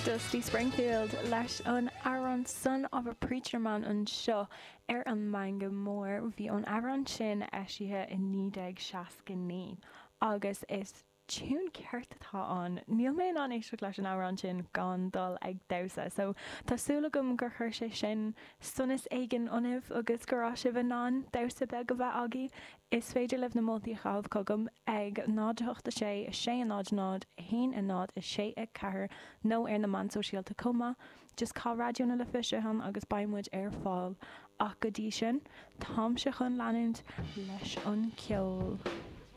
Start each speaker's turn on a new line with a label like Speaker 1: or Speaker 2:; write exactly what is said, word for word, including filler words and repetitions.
Speaker 1: Dusty Springfield leis an amhrán Son of a Preacher Man anseo ar an Meangadh Mór. Bhí an amhrán sin eisithe i naoi déag seasca naoi agus is tune ceart atá ann. Níl mé in ann éisteacht leis an amhrán sin gan dul ag damhsa, so tá súil agam gur chuir sé sin sonas éigin ionaibh agus go raibh sibh in ann damhsa beag a bheith agaibh. Is féidir libh na moltaí a chaitheamh chugam ag náid a hocht a sé, a sé a náid náid, a haon a náid, a sé a ceathair nó ar na meáin sóisialta chomh maith. Just caith Raidió na Life ann agus beidh muid ar fáil. Ach go dtí sin, táimse chun leanúint leis an ceol.